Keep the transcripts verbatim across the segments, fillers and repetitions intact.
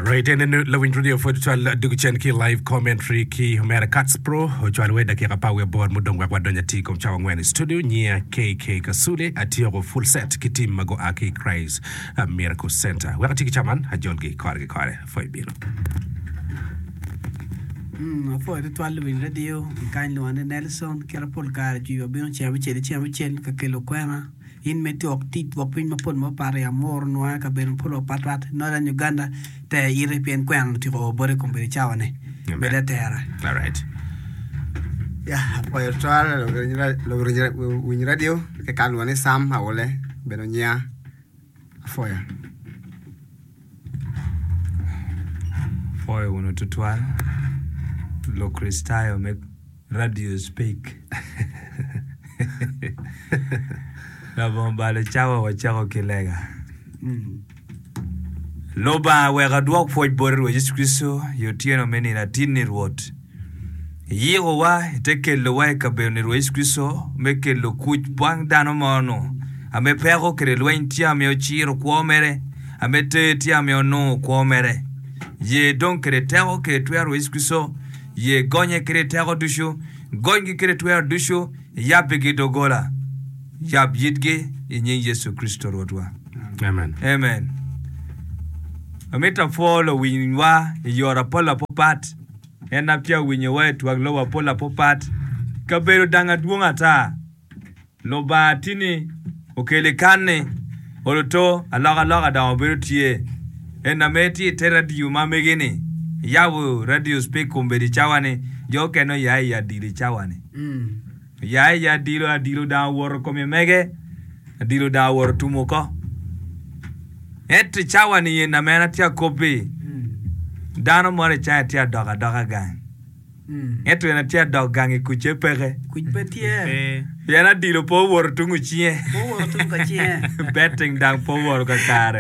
Right, en eno lawiny radio pwod cwal dugu cen ki live commentary ki Omera Cats Pro ocwalo we dakika apar wiye aboro mudong wek wadony atir kom cawa angwen i studio nyiya KK Kasule atyeko full set ki team ma gua ki Christ Miracle Center wek ati ki caman ajolgi kore ki kore pwoy bino. Mm, apwoyo tutwal luwiny radio kany lwonga ni Nelson kit pol kare jwi wabino ceng abicel ki ceng abicel ka kelo kwena in me twok tic twok piny mapol mapat i Amuru nwange kabedo mapol mapat pat Northern Uganda ter ite pien kwena otyeko o bote kombeddi cawa ni bed atera. Alright. Ya, apwoyo tutwal luwiny radio kikany lwonga ni Sam Aule bedo nyiya apwoyo. Apwoyo wunu tutwal Lukricitayo me Radio Speak. Labongo balo cawa wacako ki lega. Lubanga wek adwok pwoc boti Rwot Yecu Kricito i otyeno me nino atinni Rwot. Iyikowa ite kelowa i kabedo-ni Rwot Yecu Kricito me kelo kuc bang dano mo-nu ame peko kede lweny tye ame ociro kwo mere, ame ter tye ame onongo kwo mere. Ye dong kede teko kede twero Rwot Yecu Kricito, ye gonye kede teko ducu, gonygi kede twero ducu, iyabbigi doggola, yab yitgi i nying Yecu Kricito Rwotwa. Amen. Amen. Amito apwo luwinywa i yore apol apopat. En na tye awinyowa i twak lobo apol apopat. Kabedo dang adwong ata. Lubanga tini okeli kan-ni, oluto alokaloka dong obedo tye. En na me tye i te radio ma megi-ni, iyabo radio speak kombeddi i cawa-ni, jo okene oya i adilo i cawa-ni. Oya i adilo, adilo dong owoto kome mege, adilo dong owoto otum oko. Ento i cawa-ni en na me an atye akobbi, dano moro i cange tye adok adoka gang. Ento en atye adok gang i kucce peke. Kuc pe tye. Pien adilo pe owoto tung ocinge. Pe owoto tung ka cinge. Betting dang pe owoto kakare.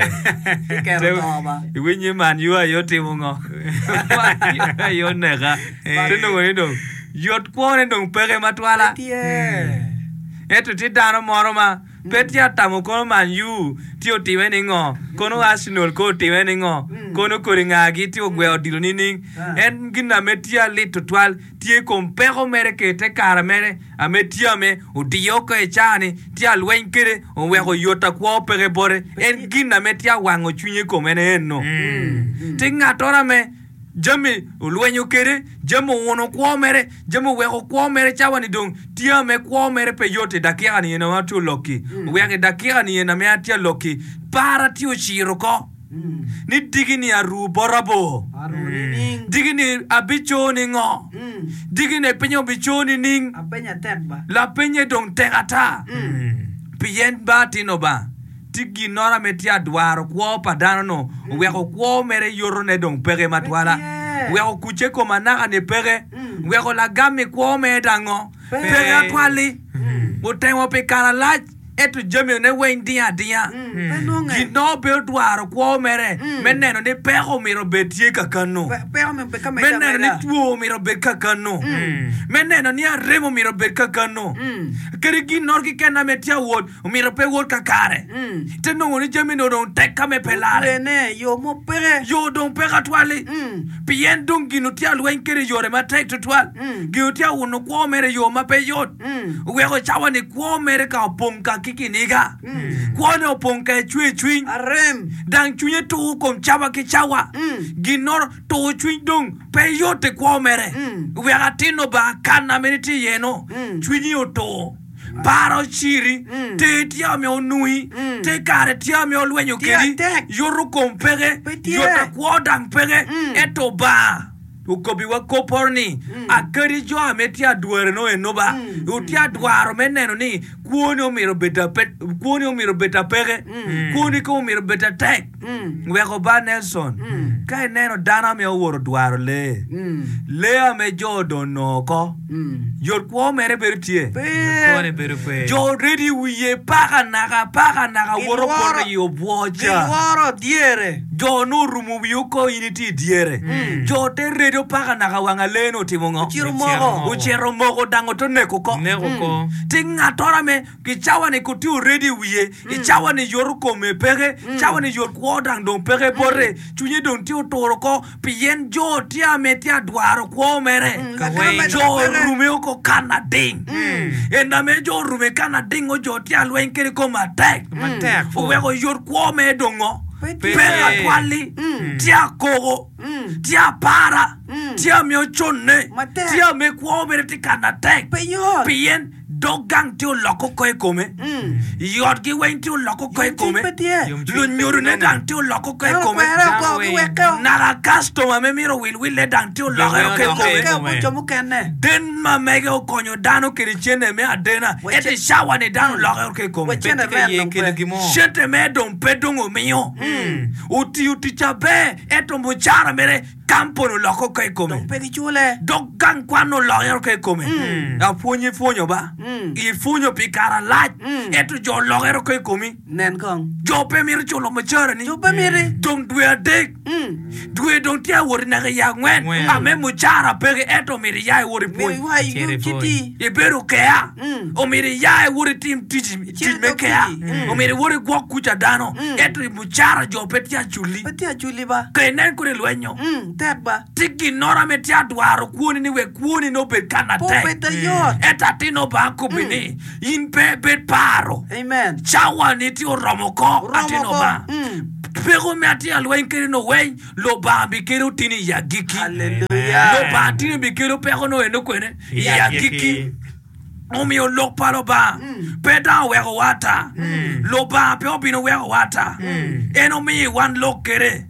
Kiketo to ba. Iwinyo ni Man U aye otimo ngo? Man U aye oneka. Te nongo ni dong yot kwone dong peke matwala. Pe tye. Ento tye dano moro ma Pe tye atamo kono Man U tye otime ni ngo, kono Arsenal ko otime ni ngo, kono kodi nga-gi tye ogweo odilo nining. En gin ame tye alit tutwal tye kom peko mere kede te kare mere ame tye ame odiye oko i caa-ni tye alweny kede oweko yota kwo peke bote. En gin ame tye awango cwinye kom en eno. Tye ngattoro ame Jami olwenyo kede, jami owuno kwo mere, jami oweko kwo mere cawa-ni dong tye ame kwo mere pe yot i dakika-ni eni ma atye olok-ki. Oweko i dakika-ni eni ame atye alok-ki, para tye ociro oko ni diki-ni aru bota bor, diki-ni abico ningo, diki-ni piny obico nining? Lapenye dong tek ata, pien ba atino ba. Tye ginnoro ame tye adwaro kwo pa dano-nu, oweko kwo mere yotone dong peke matwala, weko kucce kom anaka-ni peke, weko lagam i kwo mere dango peke atwal-li. Otemo pi kare alac, ento jamine weng dingo adinga. Ginno pe odwaro kwo mere me neno ni peko myero obed tye kakanu, me neno ni two myero obed kakanu, me neno ni arem myero obed kakanu, kadi ginnoro keken ame tye awot Omyero pe wot kakare. Te nongo ni jami ni dong tek ka me pe lare. Otwene, yo mo peke. Yo dong peke atwal-li. Pien dong gin otye alweny kede i yore matek tutwal. Gin otye awuno kwo mere i yo ma pe yot. Oweko cawa ni kwo mere ka opong ka ki kiniga. Kwone opong ka ecwer cwiny. Arem. Dang cwinye tur kom cawa ki cawa. Ginnoro tur cwiny dong pe yot i kwo mere. Wek atin Lubanga kana mere tye iye-nu, cwinyi otur. Par ociri, ter tye ame onungi, te kare tye ame olwenyo kedi, yoto kom peke, yot akwo dang peke, ento Obanga okobiwa kopporo ni, Akadi jo ame tye adwareno eno ba, wutye adwaro me neno ni kwoni omyero obed apeke, kwoni kong omyero obed atek. Weko ba Nelson, ka ineno dano ame owoto dwaro lee, lee ame jo dong onongo oko, yot kwo mere bedo tye. Kwone bedo pe. Jo redi wiye paka naka paka naka woto poto i obwo ca. Gilworo dyere. Jo nongo orumo wiye oko in itye i dyere. Jo te redo paka naka wanga lee ni otimo ngo? Ocito moko. Ocito moko dang ote oneko oko. Neko oko. Ti ngattoro ame ame ki cawa ni ko tye already i wiye i cawa ni yoto kome peke cawa ni yot kwo dang dong peke bote cwinye dong tye oturo ko pien jo tye ame tye adwaro kwo mere Ka weng. jo orume oko kan ading en ame jo orume kan ading o jo tye alweny kede kom matek Matek, pur. oweko yot kwo mere dongo Pe tye. pe atwalli tye akoko tye apara tye ame oconne Matek. tye ame kwo mere tye kan atek Pe yot. pien dog gang tye oloko ko i kome yotgi weng tye oloko ko i kome Pe tye. lunyodone dang tye oloko ko i Dano kome kwere Dano oko, weng. giwekeo. naka kastoma me mito wilwille dang tye olokere ko i Olokere. kome Wekeo bot jo mukene. den ma mege okonyo dano kede cene me adena Weche- ento i cawa ni dano olokere ko i kome Weche- Pe tye ka ye kelo gin mo. cente me dong pe dong omiyo otiyo tic aber ento mucara mere kampuni oloko ko i kome Pe gicule. dog gang kwan olokere ko i kome apwony ipwonyo ba ipwonyo pi kare alac ento jo olokere ko i komi Nen kong. jo pe mito culo mucarani Jo pe miti. dong dwe adek dwe dong tye awot naka i angwen Angwen. ame mucara peke ento omito iya iwot Mito ipwony iwa i Cere citi. pwony. ibedo kea omito iya iwot itim tic tic me dog kea tic. Mm. omito iwot igwok kuca dano ento mucara jo pe tye aculli Pe tye aculi ba. ka inen kodi lwenyo Mm, tek ba. ti ginoro ame tye adwaro kwoni ni wek kwoni no obed ka Po natek bed ayot. ento atin Obanga kobi ni in pe bed paro Amen. cawa ni tye oromo ko Oromo atin ko. Obanga Mm. peko me atye alweny kede no weny Lubanga bikelo tini i agikki Hallelujah. Lubanga tini bikelo peko no eno kwene i agikki omiyo lok pa Lubanga pe dang owekowa ata Lubanga pe obino wekowa ata en omiyo wan lok kede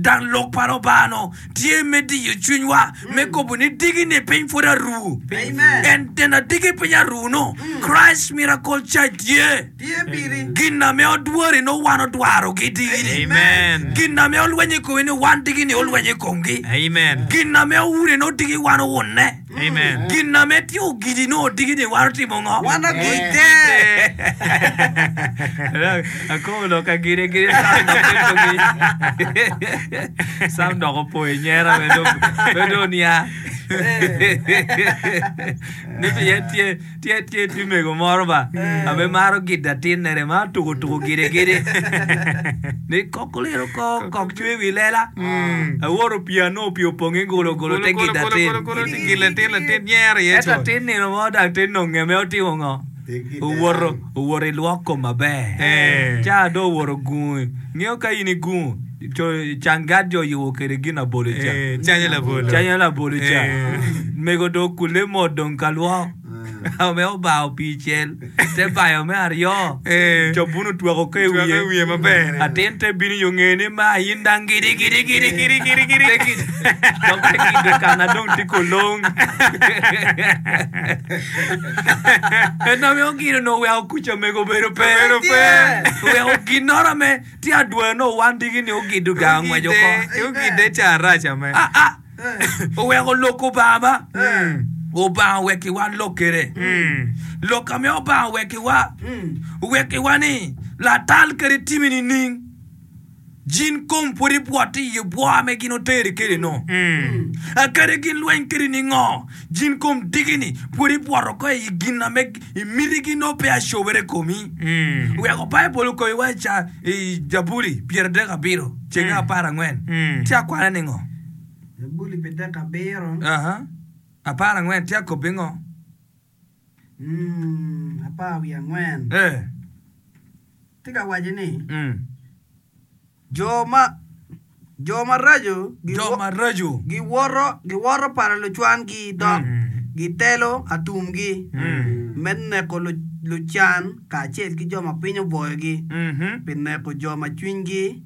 dang lok pa Lubanga no tye me diyo cwinywa me kobo ni digi ni piny pud aru Amen. en den adigi piny aru no Christ Miracle Church tye Tye piri. gin ame odwori no wan odwarogi digini Amen. gin ame olwenyo i komi ni wan digini olwenyo i komgi Amen. gin ame owure no digi wan owunne Amen. gin ame tye ogidi no digini wan otimo ngo Wan agite. Akobo lok ka gire gire Sam dok ento gi Sam dok opo i nyera me dong me dong nia ni pien tye tye tye tye mego moro ba ame maro gido atin nene ma tuko tuko gire gire ni kok oliro ko kok cwe wi lela aworo pii ano pii opong i golo golo te gido atin Latin latin nyero iye ento con. atin nino mo dang te nonge me otimo ngo owoto owoto i lwok kom maber Eh. ca do owoto gungu ngeo ka in igungu co canggat jo oyubo kede gin abolo ca Eh, canyo labolo. canyo labolo ca Eh. mego do okule mot dong ka lwok me obao pii cel te bayo me aryo Eh. co buno tweko ko i Tweko i wiye wiye maber. atin te bino yo ngeye ni ma in dang gidi gidi gidi Gidi gidi gidi. Te gi- dok te gido kana dong tye kolong en ame ogino no oweko kuca mego obedo pe Obedo pe. oweko ginoro ame tye adwoyo no wan digi ni ogido gang ongweco ko Ogide ca arac ame. Ah, ah. oweko lok Obanga ba Obanga owekiwa lok kede lok ame Obanga owekiwa owekiwa ni latal kede timi nining jin kom pwod ibwot i bwo ame gin oteri kede no akade gin lweny kede ni ngo jin kom digini pwod ibwoto ko i gin ame i mitigi no pe acobere komi weko Baibul okoyiwa i ca i Jabuli pyeradek abiro cenge apar angwen tye akwana ni ngo Jabuli pidek abiro. Aha. Apar angwen tye akobi ngo Mm, apar wiye angwen. Eh. Tye ka waco ni Mm. jo ma jo maraco Jo maraco giwoto giwoto pala lucwangi dok gitelo atumgi me neko lu- lucan kacel ki jo ma piny obwoyogi Mhm. pi neko jo ma cwinygi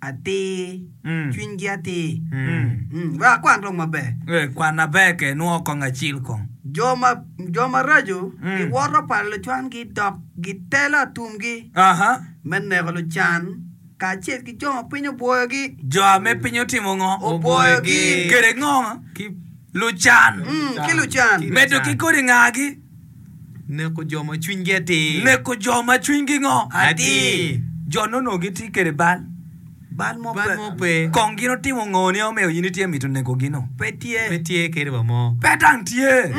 atir Mm. cwinygi atir Mm. Mm, wek akwan dong maber Eh, kwan aber ke nwo kong acil kong jo ma jo maraco Mm. giwoto pala lucwangi dok gitelo atumgi Aha. me neko lucan kacel ki jo ma piny obwoyogi Jo ame piny otimo ngo Obwoyogi. Kede ngo Ki Lucan Mm, ki lucan Medo ki kodi ngagi neko jo ma cwinygi atir. Neko jo ma cwinygi ngo Atir. Jo nono gitye kede bal bal mo Bal pe mo pe. Kong gin otimo ngo ni omeo in itye mito neko gino pe Pe tye tye kede wa mo. Pe dang tye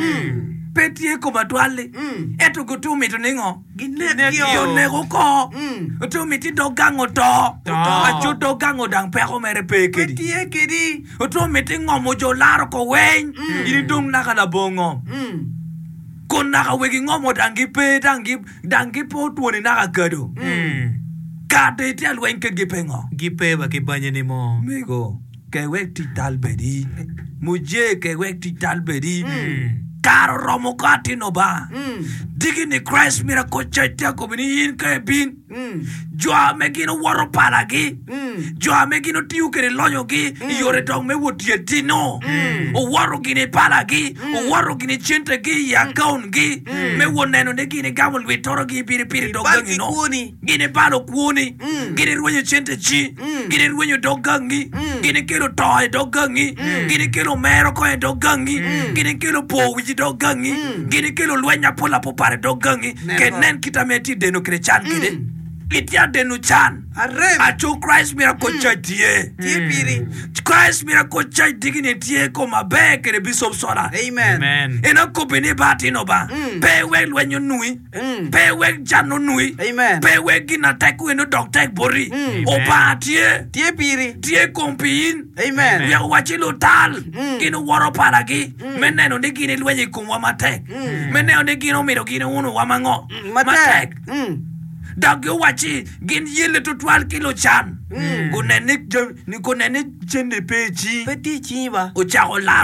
Pe tye kom atwal-li. Ento gutu mito ningo? Ginek Oneko oko. Otu miti dog gang oto. Aco dog gang odang peko mere pe Pe kedi. tye kedi. Otu miti ngomo jo laro ko weny. In idong naka labongo. Kun naka wegi ngomo dang gipe dang gi dang gipe otwoni naka kado. Kado itye alweny kedgi pe ngo? Gipe wa ki banye ni mo. Mego, ke wek tic tal bedi. Muje ke wek tic tal bedi. Kare oromo ko atino ba. Digi ni Christ Miracle Church tye akobo ni in ka ibin. Jo ame gin owoto palagi. Jo ame gin otiyo kede lonyogi i yore dong me wot tye tino. Owoto gin i palagi. Owoto gin i centegi i account-gi. Me wot neno ni gin igamo lwitorogi i piripiri dog Ibal gangi ki no. kwoni. Gin ibalo kwoni. Gin irwenyo cente ci. Gin irwenyo dog gangi. Gin ikelo to i dog gangi. Gin ikelo mero ko i dog gangi. Gin ikelo po wic i dog gangi. Gin ikelo lweny apol apopar i dog gangi. Ke nen kit ame itye deno kede can kede. Itye adeno can. Arem. Aco Christ Miracle Church tye. Tye piri. Christ Miracle Church digini tye ko maber kede Bishop Sola. Amen. Amen. En akobi ni ba atino ba. Pe wek lweny onui. Pe wek can onui. Amen. Pe wek gin atek weno dok tek boti. Obanga tye. Tye piri. Tye kom pi in. Amen. Wek owaci lutal. Gin oworo palagi. Me neno ni gin ilwenyo i komwa matek. Me neno ni gin omito gin unuwa mango. Matek. Mm. Dok giwaci gin yelle tutwal ki lucan. Gunen ni jam- ni gunen ni cente pe i cingi. Pe tye i cingi ba. Ocako laro